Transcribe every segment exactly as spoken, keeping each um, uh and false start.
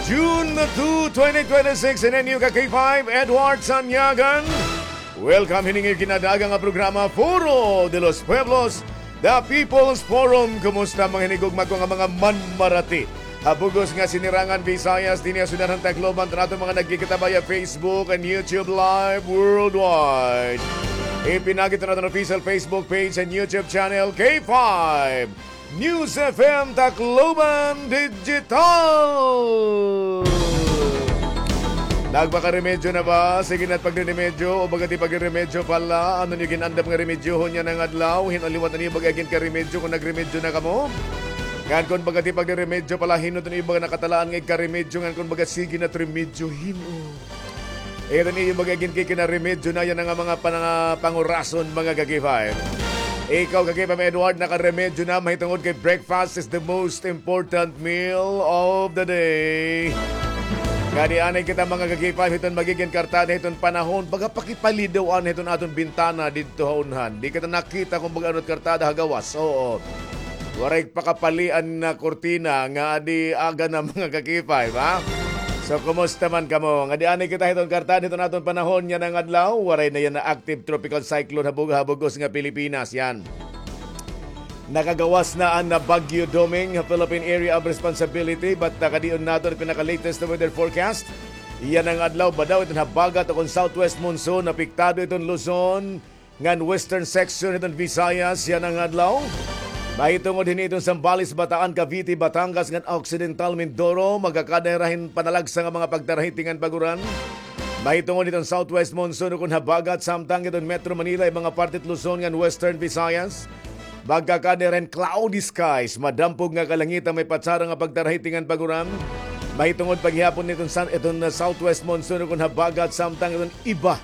June two, twenty twenty-six, in inyo ka K five, Edward Sanyagan. Welcome hini nga ginadaga nga programa, Foro de los Pueblos, The People's Forum. Kumusta mga hinigugma ko nga mga manmarati ha bug-os nga sinirangan Visayas, dinhi ha syudad han Tacloban, tan aton mga nagkikita via Facebook and YouTube Live worldwide. Ipinagi iton aton official Facebook page and YouTube channel, K five News F M Tacloban Digital. Nagpakaremedyo na ba? Sige na it pagreremedyo o baga it pagreremedyo pa la. Ano niyo gin-andam nga remedyohon yana nga adlaw? Hin-o liwat an iyo baga ginkaremedyo kon nagremedyo na kamo? Ngan kon baga it pagreremedyo pa la, hin-o it iyo baga nakatalaan nga igkaremedyo? Ngan kon baga sige na it remedyo, hin-o it iyo baga ginkikinaremedyo na yana nga mga pana-, pangurason, mga ka-K five? Ikaw, ka-K five Edward, nakaremedyo na, mahitungod kay breakfast is the most important meal of the day. Ngadi anay kita, mga ka-K five, hiton magigin kartada hiton panahon, baga pakipali daw anay hiton aton bintana didto ha unhan. Di kita nakita kon baga ano it kartada ha gawas. Oo. Waray pakapali an kurtina, ngadi aga na, mga ka-K five, ha? So, kumusta man kamo? Ngadi anay kita hiton kartada hiton aton panahon yana nga adlaw. Waray na yana active tropical cyclone ha bug-, ha bug-os nga Pilipinas, yan. Nakagawas na an Bagyo Doming ha Philippine Area of Responsibility, but, ah, kadion naton an pinaka-latest na weather forecast. Yana nga adlaw, badaw iton habagat o kon southwest monsoon, apektado iton Luzon ngan western section hiton Visayas yana nga adlaw. Mahitungod hini hiton Zambales, Bataan, Cavite, Batangas ngan Occidental Mindoro, magkakada hira hin panalagsa nga mga pagtarahiting ngan pag-uran. Mahitungod hiton southwest monsoon ukon habagat samtang hiton Metro Manila, mga parte hit Luzon ngan western Visayas, magkakada hira hin cloudy skies, madampog nga kalangitan, may patsara nga pagtarahiting ngan pag-uran. Mahitungod pa gihapon hiton san-, hiton, uh, southwest monsoon ukon habagat samtang hiton iba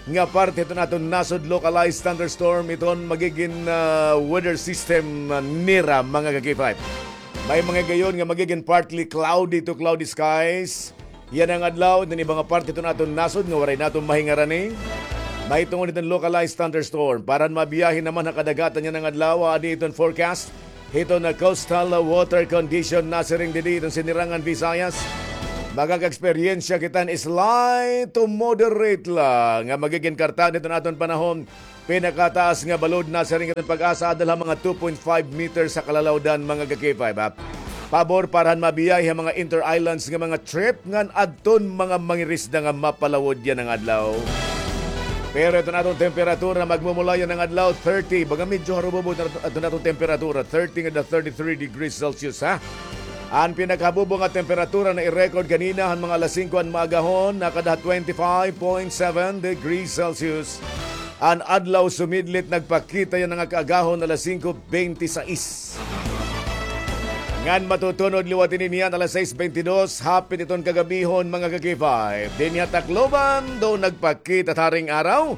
nga parte hiton aton nasod, localized thunderstorm iton magigin, ah, weather system, ah, nira, mga ka-K five. May mga gayon nga magigin partly cloudy to cloudy skies yana nga adlaw hiton iba nga parte hiton aton nasod nga waray naton mahingarani. Mahitungod hiton localized thunderstorm. Para han mabiyahe naman ha kadagatan yana nga adlaw, adi hiton forecast hiton coastal water condition, nasiring didi hiton Sinirangan Visayas. Makaka-eksperyensya kita hin slight to moderate la nga magigin kartada hiton aton panahon. Pinakataas nga balod, nasiring hiton PAGASA, ada la ha mga two point five meters ha kalalawdan, mga ka-K five, ha. Pabor para han mabiyahe ha mga inter-islands nga mga trip ngan adton mga mangirisda nga mapalawod yana nga adlaw. Pero iton aton temperatura, magmumula yana nga adlaw, thirty. Baga medyo harubobo iton aton temperatura, thirty ngada thirty-three degrees Celsius, ha? An pinakahabubo nga temperatura na i-record kanina han mga alas singko han maagahon, nakada ha twenty-five point seven degrees Celsius. An adlaw sumidlit, nagpakita yana nga kaagahon alas singko bente sais. Ngan matutunod liwat ini niyan alas sais bente dos, hapit iton kagabihon, mga ka-K five. Dinhi ha Tacloban, daw nagpakita it haring araw.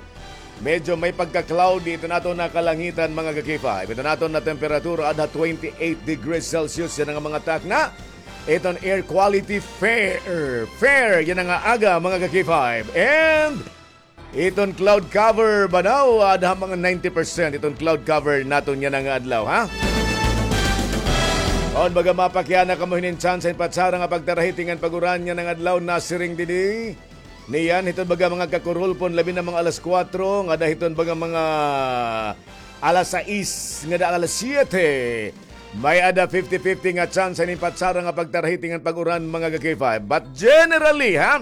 Medyo may pagka-cloudy iton aton nga kalangitan, mga ka-K five. Iton aton nga temperatura, ada ha twenty-eight degrees Celsius yana nga mga takna. Iton air quality, fair, fair yana nga aga, mga ka-K five. And iton cloud cover, banaw, ada ha mga ninety percent iton cloud cover naton yana nga adlaw, ha? On, baga mapakiana kamo hinin tsansa hin patsara nga pagtarahiting ngan pag-uran yana nga adlaw, nasiring didi niyan hiton baga mga kakurulpon, labi na mga alas kuwatro ngada hiton baga mga alas sais ngada alas siyete. May-ada fifty fifty nga tsansa hinin patsara nga pagtarahiting ngan pag-uran, mga ka-K five. But generally, ha?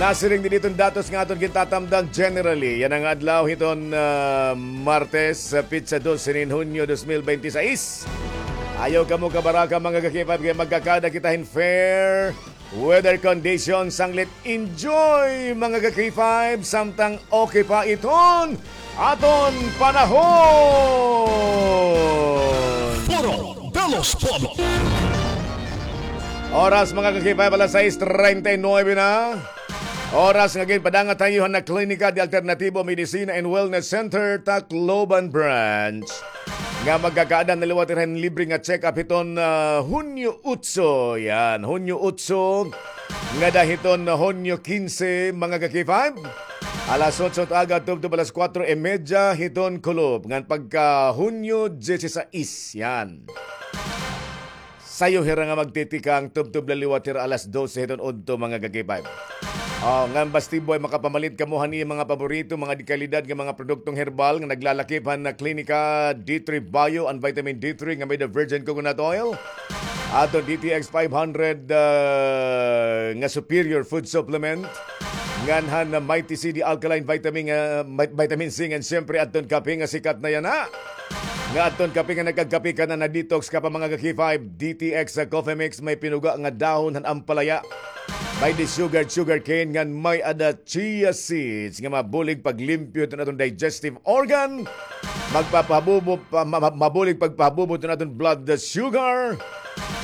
Nasiring didi iton datos nga aton gintatamdan, generally yana nga adlaw hiton, ah, Martes, sa petsa dos hinin Hunyo dos mil bente sais. Ayaw kamo kabaraka, mga ka-K five, kay magkakada kita hin fair weather condition, sanglit enjoy, mga ka-K five, samtang okay pa iton aton panahon. Foro de los Pueblos. Oras, mga ka-K five, alas sais treinta y nueve na. Oras nga ginpadangat ha iyo han Klinika de Alternativo Medicina and Wellness Center, Tacloban Branch, nga magkakaada na liwat hira hin libre nga check-up hiton, ah, Hunyo otso. Yan, Hunyo otso ngada hiton Hunyo kinse, mga ka-K five. Alas otso it aga tubtob alas kuwatro y medya hiton kulop. Ngan pagka Hunyo disisais, yan. sayo hira nga magtitikang tubtob la liwat hira alas dose hiton udto, mga ka-K five. Oh, ngan basti buhay makapamalit kamo han iyo mga paborito, mga dekalidad nga mga produktong herbal nga naglalakip han Clinica D three Bio and Vitamin D three nga may the virgin coconut oil. Aton D T X five hundred, ah, nga superior food supplement. Ngan han Mighty C D alkaline vitamin, ah, vit-, vitamin C, ngan siyempre aton kape nga sikat na yana. Nga aton kape nga nagkagkape ka na, na-detox ka pa, mga ka-K five, D T X sa coffee mix, may pinuga nga dahon han ampalaya. May di sugar, sugar cane, ngan may-ada chia seeds nga mabulig paglimpyo hiton aton digestive organ. Magpapahabubo, pa, ma, ma, mabulig pagpahabubo hiton aton blood sugar.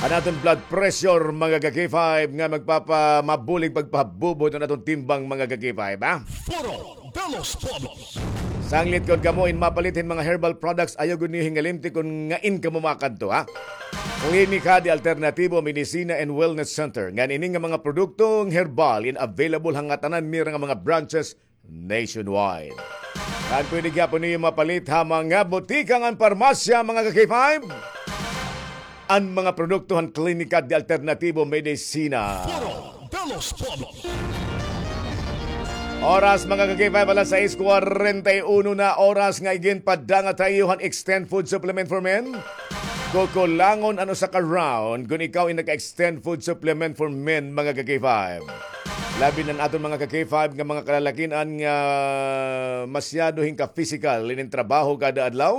An aton blood pressure, mga ka-K five, nga magpapa, mabulig pagpahabubo hiton aton timbang, mga ka-K five, ha? Foro de los Pueblos. Sanglit kon kamo in mapalit hin mga herbal products, ayaw gud niyo hingalimti kon ngain kamo makadto, ha? Klinika de Alternativo Medicina and Wellness Center. Ngan ini nga mga produktong herbal in available ha ngatanan nira nga mga branches nationwide. Ngan pwede gihapon niyo mapalit ha mga botika ngan parmasya, mga ka-K five. An mga produkto han Klinika de Alternativo Medicina. Foro de los Pueblos. Oras, mga ka-K five, alas sais kwarenta y uno na, oras nga iginpadangat ha iyo han Extend Food Supplement for Men. Kukulangon an usa ka round kon ikaw in naka-Extend Food Supplement for Men, mga ka-K five. Labi na an aton mga ka-K five nga mga kalalakin-an nga masyado hin ka-physical inin trabaho kada adlaw.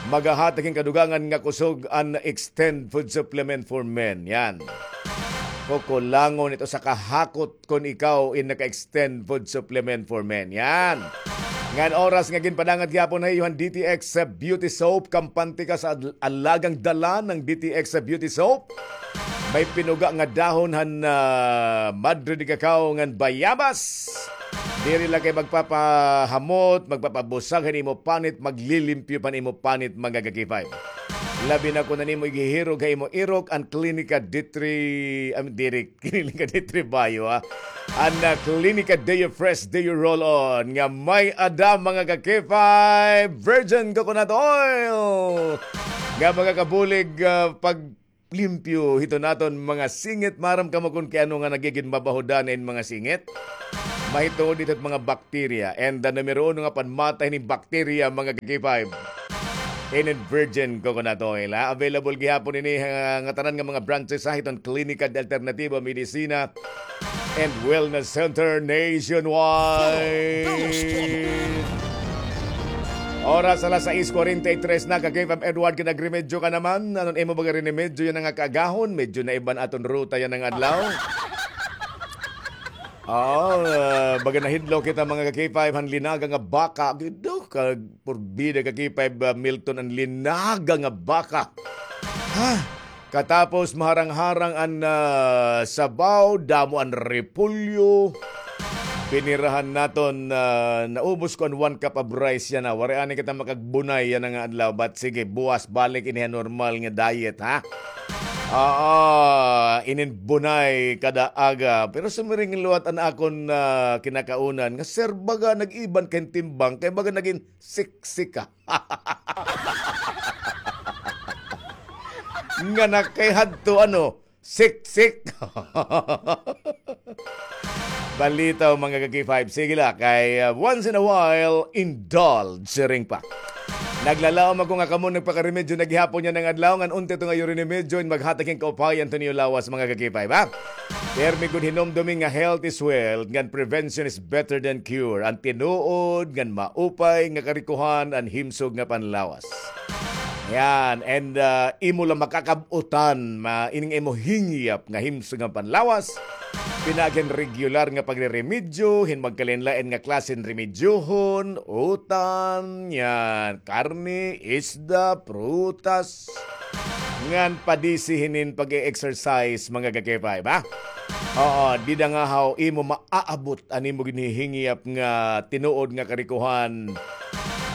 Magahatag hin kadugangan nga kusog an Extend Food Supplement for Men. Yan. Kukulangon ito sa kahakot kon ikaw in naka-Extend Food Supplement for Men. Yan. Ngan oras nga ginpadangat gihapon ha iyo han D T X Beauty Soap, kampante ka sa ad-, alagang dala ng D T X Beauty Soap. May pinuga nga dahon han, ah, madre de cacao ngan bayabas. Diri la kay magpapahamot, magpapabusag han imo panit, maglilimpyo pa han imo panit, mga ka-K five. Labi na kon an imo igihirog ha imo irok, an Klinika D three, um, diri, Klinika D three Bio, ha. An, ah, Klinika Deo Fresh, Deo Roll On, nga may-ada, mga ka-K five, virgin coconut oil. Nga makakabulig, ah, pag limpyo hiton aton mga singit. Maaram kamo kon kay ano nga nagigin mabaho daan in mga singit? Mahitungod hito hit mga bakterya. And the numero uno nga panmatay hini bakterya, mga ka-K five, inin virgin coconut oil, ha? Available gihapon ini ha ngatanan nga mga branches, ha, hiton Klinika de Alternativo Medicina and Wellness Center nationwide. Oras alas sais kwarenta y tres na, ka-K five Edward, kinagremedyo ka naman. Ano an imo baga rinemedyo yana nga kaagahon? Medyo naiba an aton ruta yana nga adlaw. Oh, ah, baga nahidlaw kita, mga ka-K five, han linaga nga baka. Gido, kag porbida, ka-K five, ah, Milton, an linaga nga baka. Ha? Katapos maharang-harang an, ah, sabaw, damo an repolyo. Pinirahan naton, ah, naubos ko an one cup of rice yana. Waray anay kita makagbunay yana nga adlaw. But sige, buwas balik ini ha normal nga diet, ha? Oo, inin bunay kada aga. Pero sumiring liwat an akon, ah, kinakaunan nga, sir, baga nag-iba an timbang, kay baga nagin siksi ka. Nga na kay hadto, ano, siksik. Balitaw, mga ka-K five. Sige la, kay, uh, once in a while, indulge siring pa. Naglalaom ako nga kamo nagpakaremedyo na gihapon yana nga adlaw, ngan unti ito nga iyo rinemedyo in maghatag hin kaupayan hiton iyo lawas, mga ka-K five, ha? Pirmi gud hinumdomi nga health is wealth, ngan prevention is better than cure. An tinuod ngan maupay nga karikohan, an himsog nga panlawas. Yan, and, ah, imo la makakab-utan, ma-, ining imo hingyap nga himsog nga panlawas. Pinaagi hin regular nga pagreremedyo, hin magkalain-lain nga klase hin remedyohon, utan, yan, karne, isda, prutas, ngan padisi hinin pag-e-exercise, mga ka-K five, ha? Oo, dida ngahaw imo maaabot an imo ginhihingyap nga tinuod nga karikohan,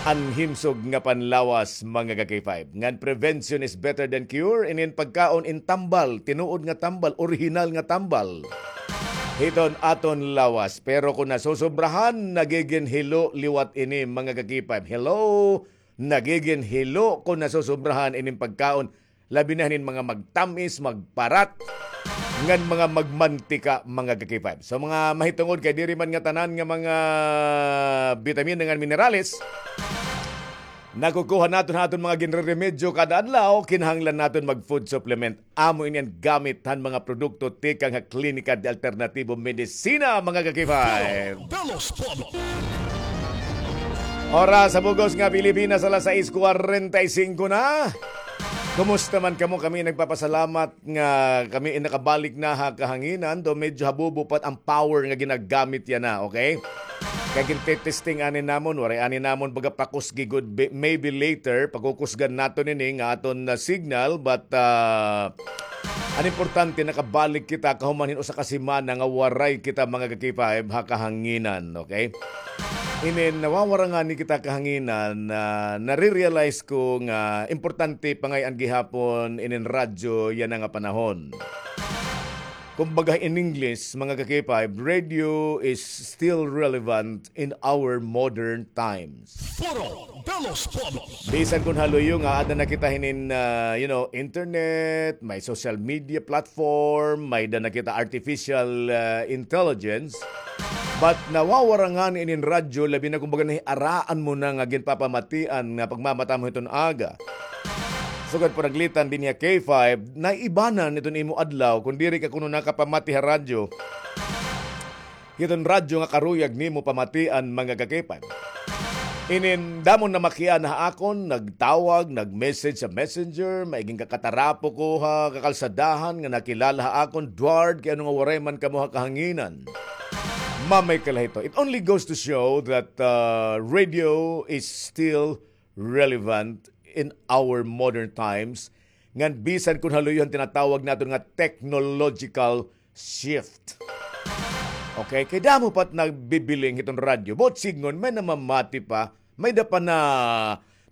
an himsog nga panlawas, mga ka-K five. Ngan prevention is better than cure, inin pagkaon in tambal, tinuod nga tambal, orihinal nga tambal hiton aton lawas. Pero kon nasosobrahan, nagigin hilo liwat ini, mga ka-K five. Hello? Nagigin hilo kon nasosobrahan inin pagkaon. Labi na hinin mga magtam-is, magparat, ngan mga magmantika, mga ka-K five. So, mga mahitungod kay diri man nga tanan nga mga bitamina ngan minerales, nakukuha naton ha aton mga ginreremedyo kada adlaw, kinahanglan naton mag-food supplement. Amo ini an gamit han mga produkto tikang ha Klinika de Alternativo Medicina, mga ka-K five. Oras sa bug-os nga Pilipinas, alas sais cuarenta y cinco na. Kumusta man kamo? Kami nagpapasalamat nga kami nakabalik na ha kahanginan, do medyo habubo pa an power nga ginagamit yana, okay? Kay gintetesting ani namon, waray ani namon baga pakusgi gud, be-, maybe later, pakukusgan naton ini nga aton, ah, signal, but, ah, an importante, nakabalik kita kahuman hin usa ka semana nga waray kita, mga ka-K five, ha kahanginan, okay? Inin nawawara ngani kita kahanginan, ah, nare-realize ko nga importante pa ngay-an gihapon inin radyo yana nga panahon. Kumbaga, in English, mga ka-K five, radio is still relevant in our modern times. Foro de los Pueblos. Bisan kon haluyo nga ada na kita hinin, ah, you know, internet, may social media platform, may-ada na kita artificial, ah, intelligence, but nawawara ngani inin radyo, labi na kumbaga nahiaraan mo na nga ginpapamatian nga pagmamata mo hiton aga. Sugad panaglitan dinhi ha K five, naibanan iton imo adlaw kon diri ka kuno nakapamati ha radyo. Hiton radyo nga karuyag nimo pamatian, mga ka-K five. Inin damo namakiana ha akon, nagtawag, nag-message sa messenger, maiging kakatarapo ko ha kakalsadahan nga nakilala ha akon, Dward, kay ano nga waray man kamo ha kahanginan. Mamay kala hito. It only goes to show that, uh, radio is still relevant in our modern times, ngan bisan kon haluyo han tinatawag naton nga technological shift. Okay, kay damo pa it nagbibiling hiton radyo. Buot sidngon, may namamati pa, may-ada pa na,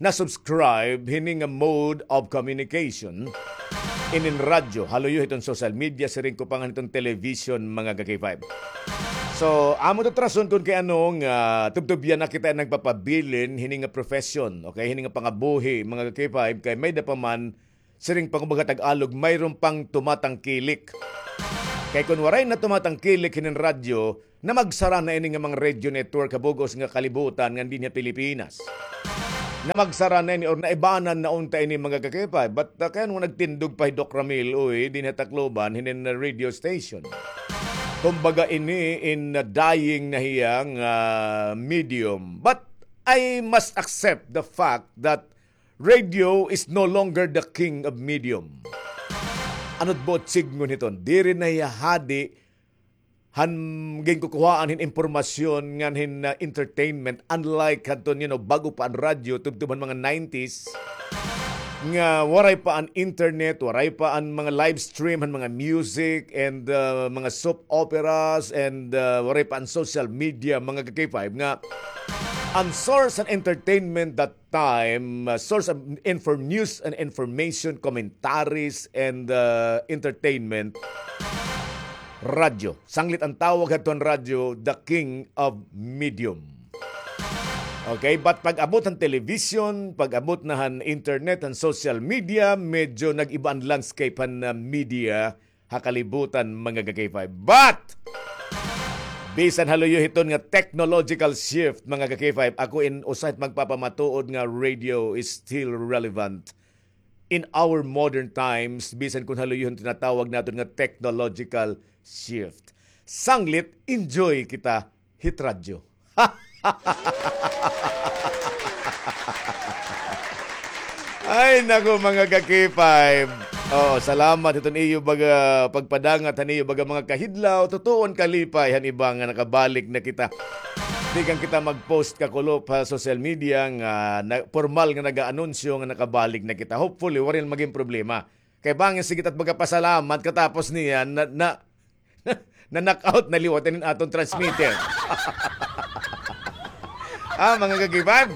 na-subscribe hini nga mode of communication. Inin radyo, haluyo hiton social media, siring ko pa ngan hiton television, mga ka-K five. So, amo ito it rason kon kay ano nga tubtubyan na kita nagpapabilin hini nga profession, okay, hini nga pangabuhi, mga ka-K five, kay may-ada pa man siring pa kumbaga Tagalog, mayroon pang tumatangkilik. Kay kon waray na tumatangkilik hinin radyo, namagsara na ini nga mga radio network ha bug-os nga kalibutan ngan dinhi ha Pilipinas. Namagsara na ini or naibanan na unta ini, mga ka-K five. But, uh, kay ano nga nagtindog pa hi Doc Ramil, uy, dinhi ha Tacloban, hinin, uh, radio station. Kumbaga ini in, uh, dying na hiya nga, uh, medium. But I must accept the fact that radio is no longer the king of medium. Ano it buot sidngon hiton? Diri na hiya hadi han ginkukuhaan hin impormasyon ngan hin, uh, entertainment, unlike hadton, you know, bag-o pa an radyo, tubtob han mga nineties, nga waray pa an internet, waray pa an mga live stream han mga music and, uh, mga soap operas and, uh, waray pa an social media, mga ka-K five, nga an source han entertainment that time, uh, source of infor-, news and information, commentaries, and, uh, entertainment, radyo. Sanglit an tawag hadton radyo, the king of medium. Okay, but pag-abot han television, pag-abot na han internet, han social media, medyo nag-iba an landscape han, uh, media ha kalibutan, mga ka-K five. But, bisan haluyo hiton nga technological shift, mga ka-K five, ako in usa hit magpapamatuod nga radio is still relevant in our modern times, bisan kon haluyo hiton tinatawag naton nga technological shift. Sanglit, enjoy kita hit radyo. Ay, naku, mga ka-K five. Oo, salamat hiton iyo baga pagpadangat han iyo baga mga kahidlaw. Tutuon kalipay han iba nga nakabalik na kita. Tikang kita mag-post kakulop ha social media nga na, pormal nga nag-aanunsyo nga nakabalik na kita. Hopefully, waray magin problema. Kay bangin sige ta magpasalamat katapos niyan na, na, na-knock out na liwat inin aton transmitter. Ah, mga ka-K five.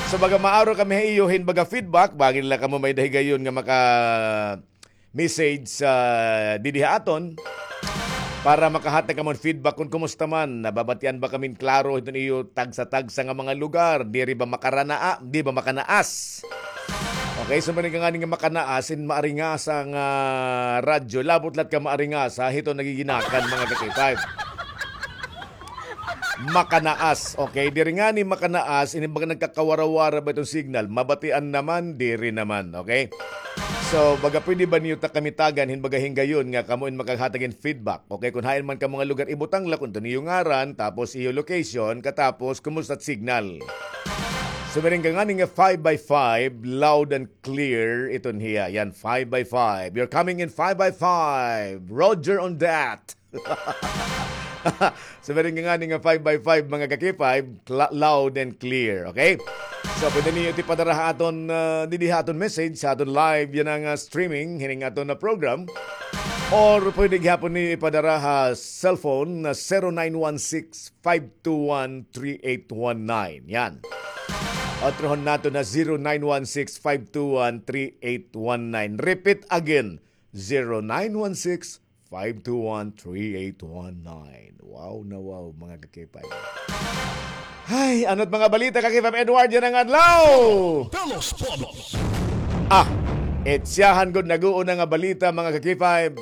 So, baga maaro kami ha iyo hin baga feedback, bangin la kamo may-ada higayon nga maka-message sa didi ha aton para makahatag kamo hin feedback kon kumusta man, nababatian ba kami hin klaro hiton iyo tagsa-tagsa nga mga lugar, diri ba makaranaa, di ba makanaas? Okay, so, siring ka ngani nga makanaas, in maaringasa nga radyo, labot la it kamaaringasa, hito nagiginakan, mga ka-K five. Makanaas, okay? Diri ngani makanaas, ini baga nagkakawarawara ba iton signal? Mabatian naman, diri naman, okay? So, baga pwede ba niyo ta kami tagan, hin baga hinggayon nga kamo in makaghatag hin feedback, okay? Kun hain man kamo nga lugar, ibutang la kun ano it iyo ngaran, tapos iyo location, katapos, kumusta it signal? So, siring ka ngani nga five by five, loud and clear, iton hiya. Yan, five by five. You're coming in five by five. Roger on that. So, siring ka ngani nga five by five, mga ka-K five, cla-, loud and clear, okay? So, pwede niyo it ipadara ha aton, ah, didi ha aton message, ha aton live, yana nga, ah, streaming, hining aton na program. Or pwede gihapon niyo ipadara ha cellphone na zero nine one six, five two one, three eight one nine. Yan. Otrohon naton na zero nine one six, five two one, three eight one nine. Repeat again, zero nine one six, five two one, three eight one nine. Wow na wow, mga ka-K five. Ay, ano't mga balita, ka-K five Edward, yana nga adlaw? Pelos Pobos. Ah, itsyahan gud nag-uuna nga balita, mga ka-K five.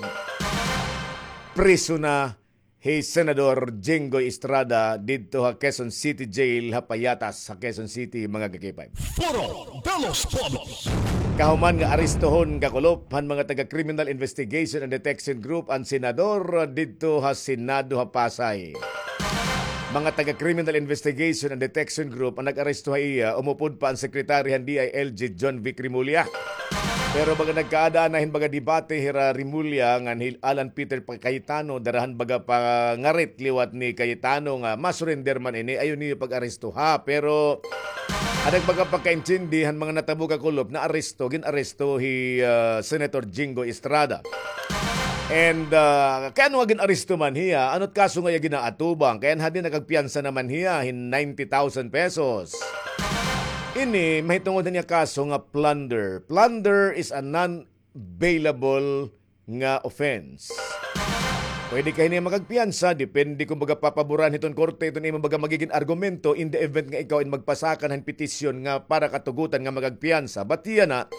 Priso na hi Senador Jinggoy Estrada didto ha Quezon City Jail ha Payatas, ha Quezon City, mga ka-K five. Foro de los Pueblos. Kahuman nga arestohon kakulop han mga taga Criminal Investigation and Detection Group an senador didto ha Senado ha Pasay. Mga taga Criminal Investigation and Detection Group an nag-aresto ha iya, umupod pa an sekretary han D I L G Jonvic Remulla. Pero baga nagkaada na hin baga debate hira Remulla ngan hi Alan Peter Cayetano, dara han baga pangarit liwat ni Cayetano nga ma-surrender man ini, ayaw niyo pag-arestoha. Pero an nagpakapakaintindi han mga natabo kakulop, naaresto, gin-aresto hi, ah, Senator Jinggoy Estrada. And, ah, kay ano nga gin-aresto man hiya, ano't kaso nga iya ginaatubang? Kay an hadi nakagpiyansa naman hiya hin ninety thousand pesos. Ini mahitungod han iya kaso nga plunder. Plunder is a non-bailable nga offense. Pwede ka hini makagpiyansa, depende kon baga papaboran hiton korte iton imo baga magigin argumento in the event nga ikaw in magpasakan han petisyon nga para katugutan nga magagpiyansa. But yana,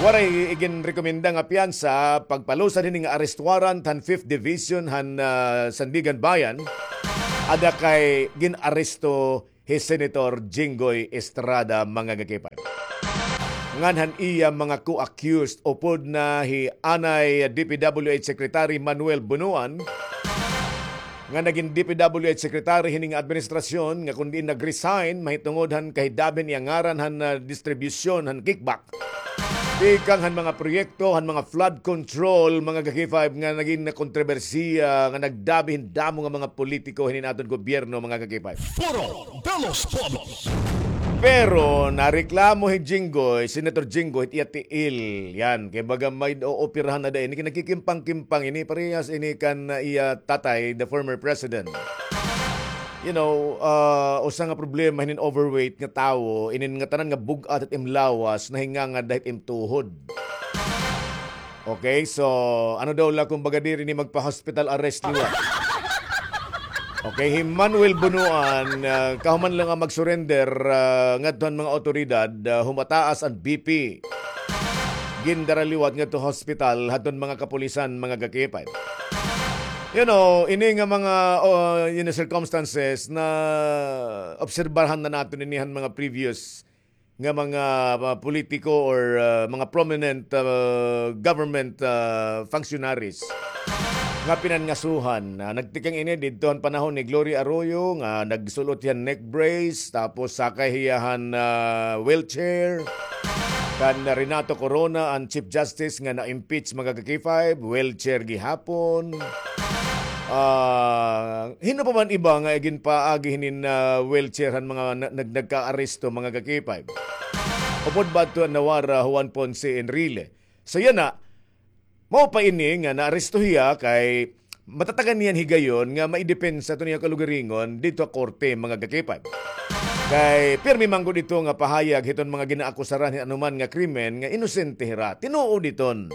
waray iginrekomenda nga piyansa, pagpalusad hini nga arrest warrant han Fifth Division han, ah, Sandiganbayan, ada kay gin-aresto hi Senator Jinggoy Estrada, mga ka-K five. Ngan han iya mga co-accused, upod na hi anay D P W H Secretary Manuel Bonoan, nga nagin D P W H Secretary hini nga administrasyon, nga kon diin nag-resign mahitungod han kahidabi han iya ngaran han, ah, distribusyon han kickback tikang han mga proyekto han mga flood control, mga ka-K five, nga nagin kontrobersiya, nga nagdabi hin damo nga mga politiko hinin aton gobyerno, mga ka-K five. Foro de los Pueblos. Pero nareklamo hi Jinggoy, Senator Jinggoy, it iya tiil. Yan, kay baga may ooperahan na da ini, kay nagkikimpang-kimpang ini, parehas ini kan, ah, iya tatay, the former president. You know, ah, usa nga problema hinin overweight nga tawo, inin ngatanan nga bug-at it im lawas, nahingangad da hit im tuhod. Okay, so, ano daw la kon baga diri ini magpa-hospital arrest liwat? Okay, hi Manuel Bonoan, ah, kahuman la nga mag-surrender, ah, ngadto han mga awtoridad, ah, humataas an B P. Gindara liwat ngadto hospital hadton mga kapulisan, mga ka-K five. You know, ini nga mga, oh, ini circumstances na obserbahan na naton ini han mga previous nga mga, ah, politiko or, ah, mga prominent, ah, government, ah, functionaries nga pinangasuhan. Ah, nagtikang ini didto han panahon ni Gloria Arroyo nga nagsul-ot hiya hin neck brace, tapos sakay hiya han, ah, wheelchair. Kan Renato Corona, an Chief Justice nga na-impeach, mga ka-K five, wheelchair gihapon. Ah, hin-o pa man iba nga iginpaagi hinin, ah, wheelchair han mga na-, nag-, nagkaaresto, mga ka-K five. Upod ba adto han nawara, Juan Ponce Enrile. So, yana, mao pa ini nga naaresto hiya kay matatagan niyan higayon nga maidepensa iton iya kalugaringon didto ha korte, mga ka-K five. Kay pirmi man gud ito nga pahayag hiton mga ginaakusaran hin anuman nga krimen nga inosente hira. Tinuod iton.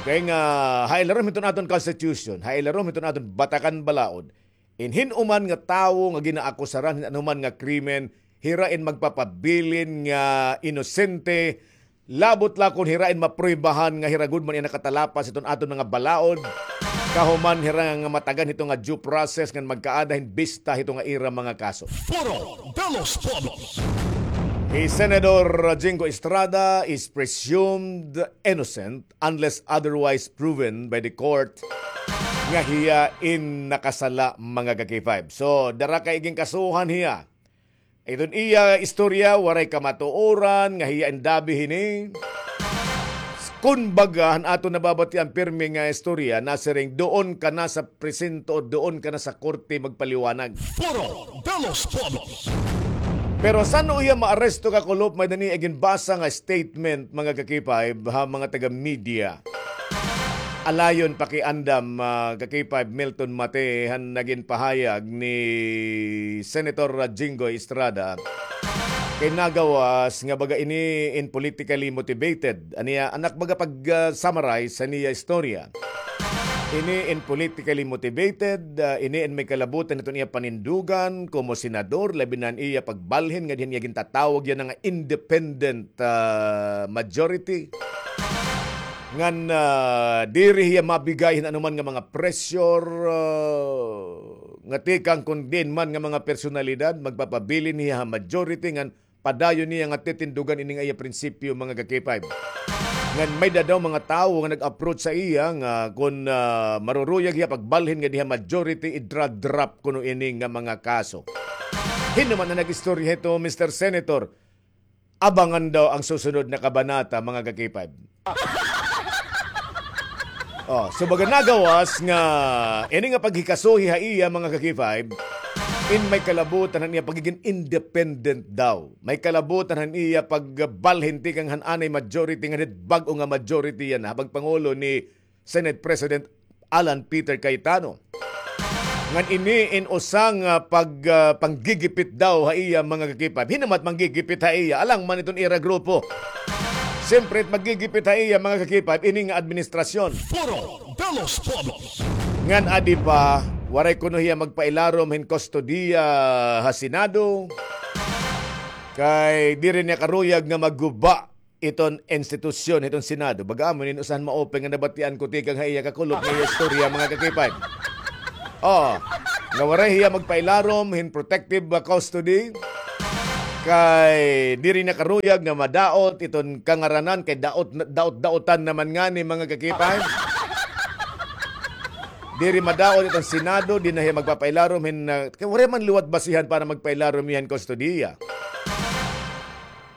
Okay, nga ha ilarom hiton aton constitution, ha ilarom hiton aton batakan balaod, in hin-o man nga tawo nga ginaakusaran hin anuman nga krimen, hira in magpapabilin nga inosente, Labot la kon hira in mapruebahan nga hira gud man iya nakatalapas hiton aton mga balaod. Kahuman hira nga matagan hito nga due process ngan magkaada hin bista hito nga ira mga kaso. Foro de los Pueblos. Hi Senador Jingo Estrada is presumed innocent unless otherwise proven by the court nga hiya in nakasala, mga ka-K five. So, dara ka igin kasuhan hiya. Iton iya istorya, waray kamatuoran nga hiya in dabi hini. Kun baga, han aton nababatian pirmi nga istorya, nasiring, doon ka na sa presinto o doon ka na sa korte magpaliwanag. Foro de los Pueblos. Pero san-o hiya maaresto, kakulop? May-ada niya iginbasa nga statement, mga ka-K five, ha mga taga-media. Alayon pakiandam, ah, ka-K five Milton Mate, han nagin pahayag ni Senator Jinggoy Estrada. Kay nagawas nga baga ini in politically motivated. Ania, anak baga pag, ah, summarize sa niya istorya. Ini in politically motivated, ah, ini in may kalabutan hiton iya panindugan, komo senador, labi na an iya pagbalhin nga dinhi niya gintatawag yana nga independent, ah, majority. Ngan, ah, diri hiya mabigay hin anuman nga mga pressure, ah, nga tikang kon diin man nga mga personalidad, magpapabilin hiya ha majority ngan padayon niya nga titindugan ini nga iya prinsipyo, mga ka-K five. Ngan may-ada daw mga tawo nga nag-approach sa iya nga kon, ah, maruruyag hiya pagbalhin nga dinhi ha majority, idra-drop kuno ini nga mga kaso. Hin-o man an nag-istorya hito, Mister Senator? Abangan daw ang susunod na kabanata, mga ka-K five. Oh, so baga nagawas nga ini nga paghikasuhi ha iya, mga ka-K five, in may kalabutan han iya pagigin independent daw. May kalabutan han iya pagbalhin tikang han anay majority ngan hit bag-o nga majority yana, ha pagpangulo ni Senate President Alan Peter Cayetano. Ngan ini in usa nga pag, ah, panggigipit daw ha iya, mga ka-K five. Hin-o man it manggigipit ha iya, alang man iton ira grupo. Siyempre, it maggigipit ha iya, mga ka-K five, ini nga administrasyon. Foro de los Pueblos. Ngan adi pa, waray kuno hiya magpailarom hin kustodiya ha Senado. Kay diri niya karuyag nga magguba iton institusyon, iton Senado. Baga amo ini in usa han ma-open nga nabatian ko tikang ha iya, kakulop, nga iya istorya, mga ka-K five. Oo. Nga waray hiya magpailarom hin protective, ah, custody. Kay diri na karuyag nga madaot iton kangaranan kay daot, daot-daotan naman ngani, mga ka-K five. Diri madaot iton Senado, di na hiya magpapailarom hin, ah, kay waray man liwat basihan para magpailarom hiya hin kustodiya.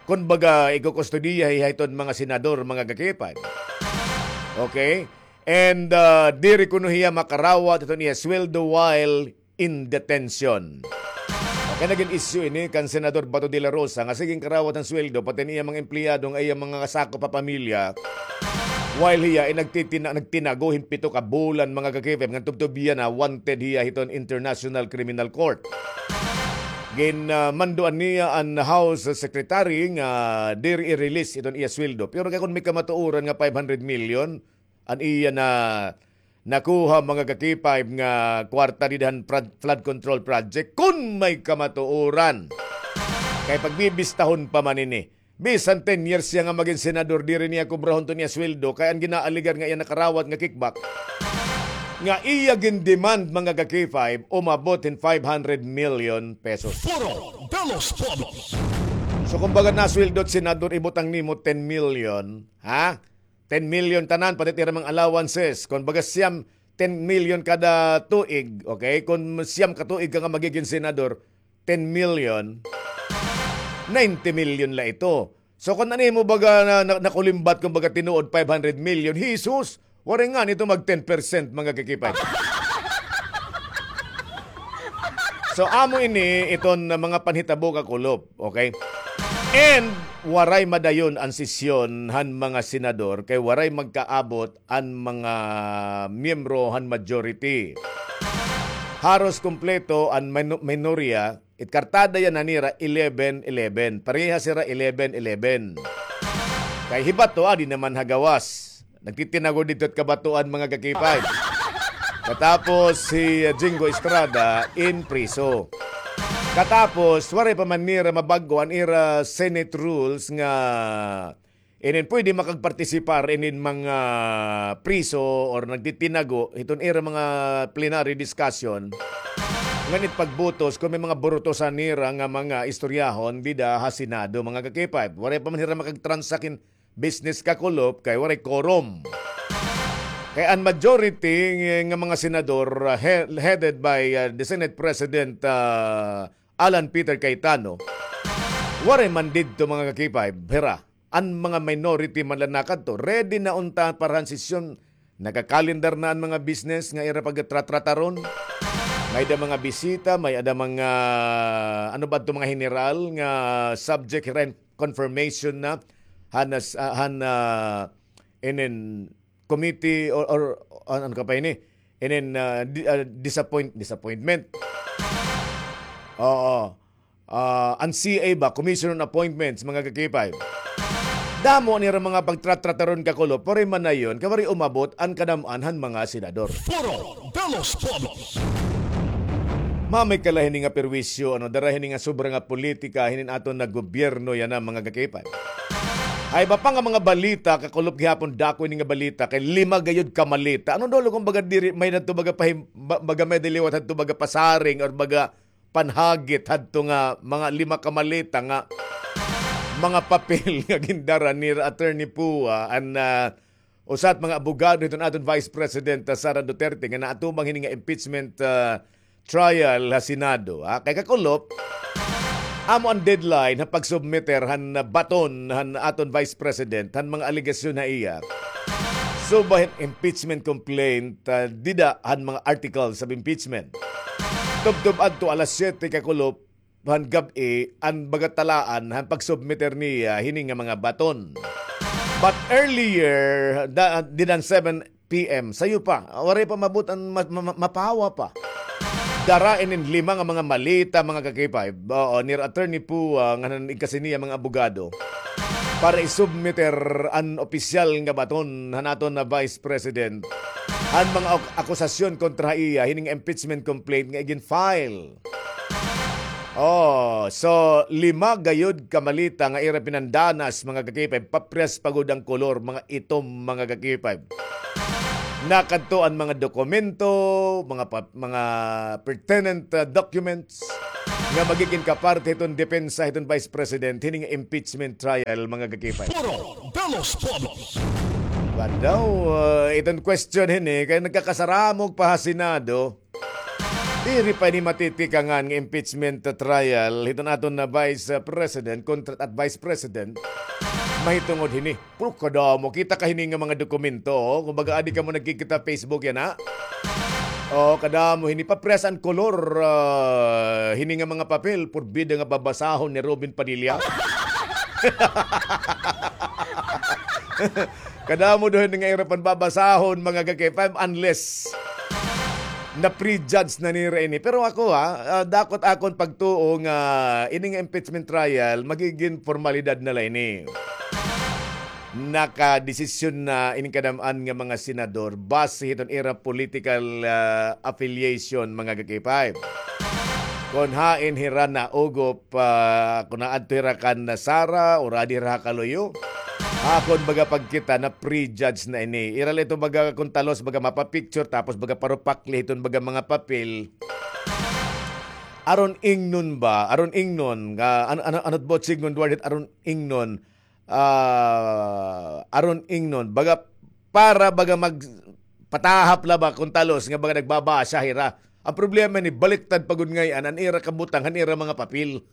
Kun baga, ikukustodiya hiya hiton mga senador, mga ka-K five. Okay? And, ah, diri kuno hiya makarawat hiton iya sweldo while in detention. Okay, nagin issue ini kan Senador Bato de la Rosa nga sige karawat han sweldo, pati an iya mga empleyado nga iya mga kasakop ha pamilya. While hiya ay nagtitina-, nagtinago hin pito ka bulan, mga ka-K five, ngan tubtob hiya na wanted hiya hiton International Criminal Court. Gin, ah, mandoan niya an House Secretary nga diri i-release iton iya sweldo. Pero kay kun may kamatuoran nga five hundred million, an iya na nakuha, mga ka-K five, nga kwarta dida han prod-, flood control project, kun may kamatuoran. Kay pagbibistahon pa man ini. Bisan ten years siya nga magin senador, diri niya kubrahon iton iya sweldo, kay an ginaalegar nga iya nakarawat nga kickback, nga iya gin-demand, mga ka-K five, umabot hin five hundred million pesos. Foro de los Pueblos. So, kumbaga, nasweldo it senador, ibutang nimo ten million, ha? Ten million tanan, pati it ira mga allowances. Kumbaga, siyam, ten million kada tuig, okay? Kun siyam ka tuig ka nga magigin senador, ten million, ninety million la ito. So, kun ano imo baga na, na, nakulimbat, kumbaga, tinuod five hundred million, Jesus, waray ngani ito mag ten percent, mga ka-K five. So, amo ini iton mga panhitabo, kakulop, okay? And waray madayon an sesyon han mga senador kay waray magkaabot an mga miyembro han majority. Haros kumpleto an mino-, minorya, it kartada yana nira eleven eleven. Parehas hira eleven eleven. Kay hi Bato, adi naman ha gawas. Nagtitinago didto it kabatuan, mga ka-K five. Katapos hi, uh, Jingo Estrada in priso. Katapos, waray pa man nira mabag-o an ira Senate rules nga Inin pwede makagpartisipar inin mga priso or nagtitinago hiton ira mga plenary discussion. Ngan it pagbutos, kung may mga burutosan nira nga mga istoryahon, dida ha Senado, mga ka-K five. Waray pa man hira makagtransact hin business, kakulop, kay waray quorum. Kay an majority nga, nga mga senador, uh, he-, headed by, uh, the Senate President, uh, Alan Peter Cayetano, waray man didto, mga ka-K five, hira. An mga minority man la nakadto, ready na unta para han sesyon, nakakalendar na an mga business nga ira pagtratrataron. May-ada mga bisita, may-ada mga, ano ba ito, mga general nga subject hira hin confirmation na han, ah, han, ah, inin committee or, or an-, ano ka pa ini? Inin, ah, di-, ah, disappoint-, disappointment. Oo. Ah, an C A ba, Commission on Appointments, mga ka-K five. Damo nira mga pagtratrataron, kakulop, pero man na iyon, kay waray umabot an kadam-an han mga senador. Foro de los Pueblos. Mamay kala hini nga perwisyo, ano, dara hini nga sobra nga politika, hinin aton nga gobyerno yana, mga ka-K five. Ay, iba pa nga mga balita, kakulop, gihapon dako ini nga balita, kay lima gayod ka maleta. Ano daw, kumbaga, diri, may-ada hadto baga pahim-, ba-, baga may-ada liwat hadto baga pasaring or baga panhagit hadto nga mga lima ka maleta nga mga papel nga gindara ni Attorney Pua, an, ah, usa hit mga abogado hiton aton Vice President, ah, Sara Duterte, nga naatubang hini nga impeachment, ah, trial ha Senado, ha? Kay kakulop, amo an deadline ha pagsubmiter han, ah, baton han aton Vice President han mga alegasyon ha iya. Subay hin impeachment complaint, ah, dida han mga articles of impeachment. Tubtob adto alas siyete, kakulop, han gab-i an baga talaan han pagsubmiter niya hini nga mga baton. But earlier, da-, dida han seven P M, sayo pa, waray pa maabot an ma-, ma-, ma-, mapawa pa. Dara inin lima nga mga maleta, mga ka-K five. Oo, ni Attorney Pua, ah, ngan han igkasi niya mga abogado, para isubmiter an opisyal nga baton han aton nga Vice President han mga ak-, akusasyon kontra ha iya, hini nga impeachment complaint nga igin-file. Oh, so lima gayod ka maleta nga ira pinandanas, mga ka-K five, paprehas pa gud an kolor, mga itom, mga ka-K five. Nakadto an mga dokumento, mga pa-, mga pertinent, uh, documents nga magigin kaparte hiton depensa hiton Vice President hini nga impeachment trial, mga ka-K five. Foro de los Pueblos. Ba daw, uh, iton question hini kay nagkakasaramog pa ha Senado. Diri pa ini matitikangan nga impeachment trial hiton aton nga Vice President kontra at Vice President mahitungod hini. Pero kadamo, kita ka hini nga mga dokumento, oh. Kumbaga, adi kamo nagkikita Facebook yana, ha? Oh, kadamo hini, paprehas an kolor, ah, hini nga mga papel, purbida nga babasahon ni Robin Padilla. Kadamo daw hini nga ira panbabasahon, mga ka-K five, unless na-prejudge na nira ini. Pero ako, ha, ah, dako it akon pagtuo nga ini nga impeachment trial, magigin formalidad na la ini. Nakadesisyon na ini kadam-an nga mga senador base hiton ira political, ah, affiliation, mga ka-K five. Kon hain hira naugop, ah, kon naadto hira kan Sara, o adi hira ha kaluyo. Akon baga pagkita, na-prejudge na ini. Ira la ito baga kon talos, baga mapapicture, tapos baga parupakli hiton baga mga papel. Aron ingnon ba? Aron ingnon. Nga, ano, ano, ano it buot sidngon, Duarte, aron ingnon? Ah, aron ingnon. Baga, para baga magpatahap la ba kon talos nga baga nagbabasa hira. An problema ini, baliktad pa gud ngay-an an ira kabutang han ira mga papel.